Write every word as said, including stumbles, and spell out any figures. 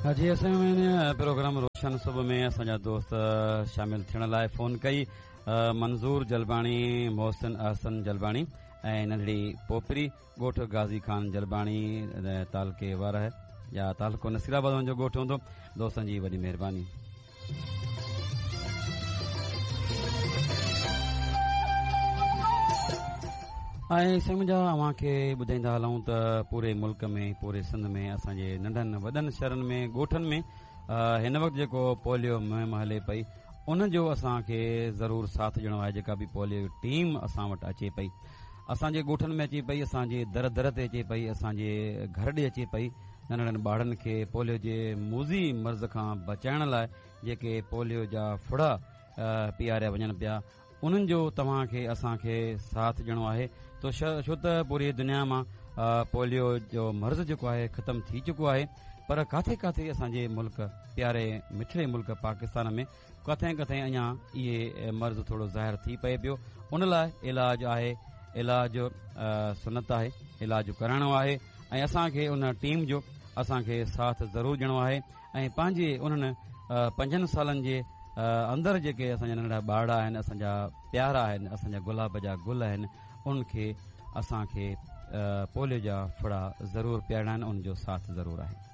جي اسان هن پروگرام روشن صبح ۾ اسان جا دوست شامل ٿيڻ لاء فون ڪئي، منظور جلباڻي، محسن احسن جلباڻي ۽ ننڍڙي پوپري، ڳوٺ غازي خان جلباڻي، تعلقي وارهه يا تعلقو نصير آباد جو ڳوٺ هوندو. دوستن جي وڏي مهرباني. ۽ سمجها اوهان کي ٻڌائيندا هلون ته پوري ملڪ ۾، پوري سنڌ ۾، اسان جي ننڍن وڏن شهرن ۾، ڳوٺن ۾ هن وقت جيڪو پوليو مهم هلي پئي، ان جو اسان کي ضرور ساٿ ڏيڻو آهي. جيڪا به پوليو ٽيم اسان وٽ اچي پئي، اسان جي ڳوٺن ۾ اچي پئي، اسان جي در در تي اچي پئي، اسان جي گهر ڏي اچي پئي، ننڍڙن ٻارن کي پوليو جي موذي مرض کان بچائڻ لاء جيڪي پوليو جا ڦڙا پياريا وڃن پيا، انهن جو توهان کي اسان کي ساٿ ڏيڻو آهي. تو ڇو ته پوري دنيا مان پوليو جو مرض جيڪو آهي ختم ٿي چڪو آهي، پر ڪاٿي ڪاٿي اسان جي ملڪ، پياري مٺڙي ملڪ پاڪستان ۾ ڪٿي ڪٿي اڃا اهي مرض ٿورو ظاهر ٿي پئي پيو. ان لاء علاج آهي، علاج سنت آهي، علاج ڪرائڻو آهي ۽ اسان کي ان ٽيم جو اسان کي ساٿ ضرور ڏيڻو آهي ۽ پنهنجي انهن پنجن سالن جي اندر جيڪي اسان جا ننڍڙا ٻارڙا آهن، اسان جا پيارا آهن، اسان جا گلاب جا گل آهن، انهن کي اسان کي پوليو جا ڦڙا ضرور پيارڻا آهن، ان جو ساٿ ضرور آهي.